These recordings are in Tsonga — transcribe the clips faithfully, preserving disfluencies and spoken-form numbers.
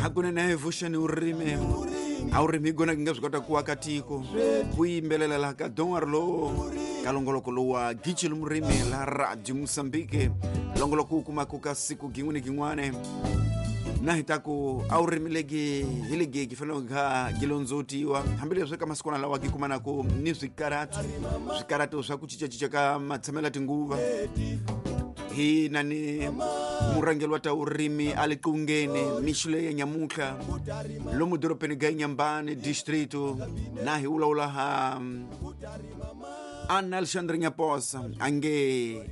Hakunene vuxeni urimi a urimi gona ngi nga swi kota ku aka tiko ku yimbelela laha ka Don Arlo ka longoloko lowa Gicile Murimi la Radio Mozambique longoloko wu kumaka ka siku gin'we ni gin'wane na hi ta ku a wu rimi legi hi legi gi fanele kha gi londzootiwa hambileswi ka masikwana lawa gi kumanaku ni swikaratu swikaratu swa ku cincacinca ka matshamelo ya tinguva hi na ni murhangeri wa ta urimi a le qungeni mixo leyi ya nyamuntlha lomu dorobeni ga Inhambane distrito na hi vulavula ha Ana Alexandre Nyaposa ange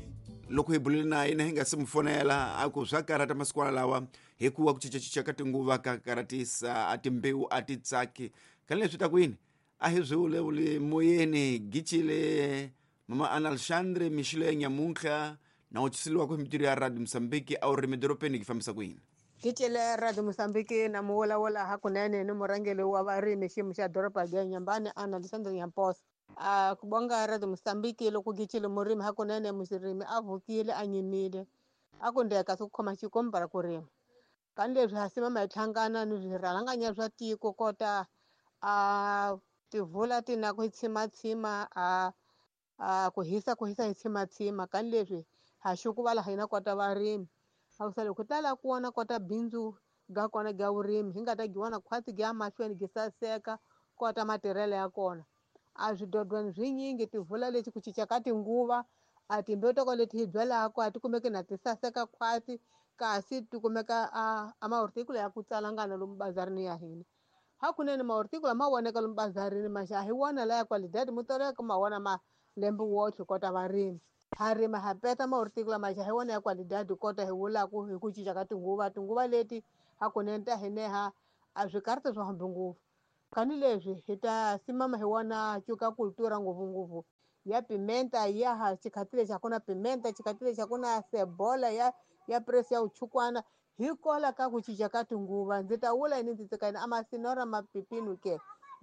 loko hi bulile na yena hi nga se mu fonela a ku swa karata masikwana lawa hikuva ku cincacinca ka tinguva ka karatisa a timbewu a ti tsaki ka leswi ta ku yini a hi swi vulavuli moyeni Gicile mama Ana Alexandre mixo leyi ya nyamuntlha na u tshiseliwaka hi mitirho ya Radio Mozambique a wu rimi dorobeni ki fambisa ku yini Gicile Radio Mozambique na muvulavula hakunene ni murhangeri wa varimi xiyimo xa doroba ra Inhambane Ana Alexandre Nyaposa a ku bonga Radio Mozambique loko Gicile murimi hakunene murimi a vukile a nyimile a ku ndeka swi khoma xikomba ra ku rima kani leswi ha simama hi hlangana ni swirhalanganya swa tiko kota a tivula ti na ku tshimatshima a a ku hisa ku hisa hi tshimatshima kani leswi ha xukuvala hina kota varimi a ku sale ku tala ku vona kota bindzu ga kona ga vurimi hi nga ta gi vona khwatsi gi ya mahlweni gi saseka kota matirhelo ya kona a swidodweni swinyingi tivula leti ku cinca ka tinguva a timbewu ta kona leti hi byalaka a ti kumeki na ti saseka khwatsi kasi ti kumeka a a mahortikula ya ku tsalangana lomu bazarini ya hina hakunene mahortikula ma voneka lomu bazarini maxa a hi wona laya qualidade mo toleka ma wona malembe wotlhe kota varimi ha rima ha peta mahortikula maxa hi wona ya qualidade kota hi vulaku hi ku cinca ka tinguva tinguva leti hakunene ta hineha a swi karata swa hambi ngopfu kani leswi hi ta simama hi wona cuka cultura ngopfungopfu ya pimenta ya ha xikhatile xa ku na pimenta xikhatile xa ku na cebola ya ya press ya uchukwana hikola ka ku cinca ka tinguva ndzi ta vula yini ndzi tsika yini a masinora mapipinu ke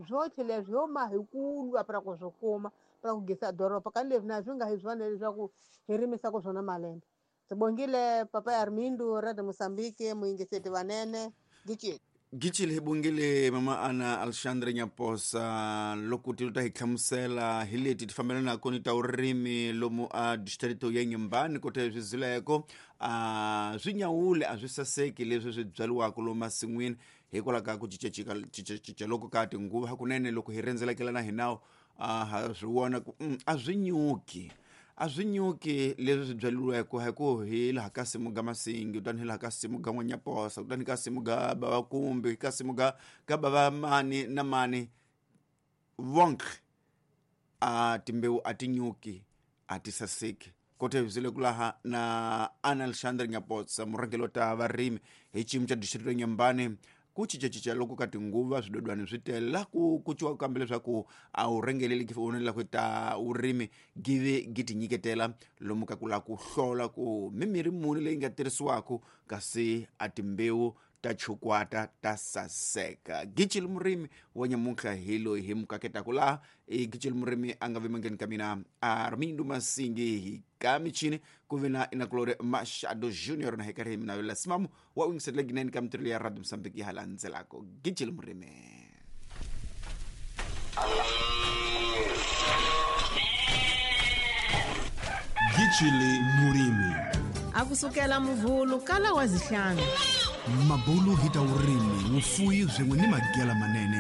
swotlhe leswi ho ma hi ku lwa pra ku swi kuma pra ku gisa doroba kani leswi na swi nga hi swona leswaku hi rimisaka swona malembe ndzi bongile papa Armindo Radio Mozambique muyingiseti vanene Gicile Gicile hi bongile mama Ana Alexandre Nyaposa loko ti ta hi hlamusela hi leti ti fambelanaka ni ta urimi lomu a distrito ya Inhambane kota swi zileko a swi nyawule a swi saseki leswi swi byariwaka lomu masin'wini hikwalaho ka ku cincacinca cincacinca loko ka tinguva hakunene loko hi rhendzelekela hi nawu a ha swi vona ku a swi nyuki a swi nyuki leswi swi byariweke hi ku hi laha ka simu ga Masingi kutani hi laha ka simu ga N'wanyaposa kutani ka simu ga bava Kumbi ka simu ga ga bava mani na mani vonke a timbewu a ti nyuki a ti saseki kote hi ku laha na Ana Alexandre Nyaposa murhangeri wa ta varimi hi xiyimo xa distrito ya Inhambane ku cincacinca loko ka tinguva swidodwani swi tele laha ku ku ciwaka kambe leswaku a wu rhengeleli ki vonela ku ta vurimi give gi ti nyiketela lomu ka ku lava ku hlola ku mimirhi muni leyi nga tirhisiwaka kasi a timbewu ta chukwata ta saseka Gicile Murimi wa nyamuntlha hi loyi hi mukaketaka laha i Gicile Murimi a nga vemangeni ka mina Armindo Masingi hi ka michini ku ve na Inakulore Machado Junior na hi karhi hi mina yola simamu wa wingisetela ginene ka mitirho ya Radio Mozambique ya landzelako Gicile Murimi Gicile Murimi a kusukela muvhulu kala wa zihlanu mabulu hi ta vurimi vufuwi swin'we ni magela manene.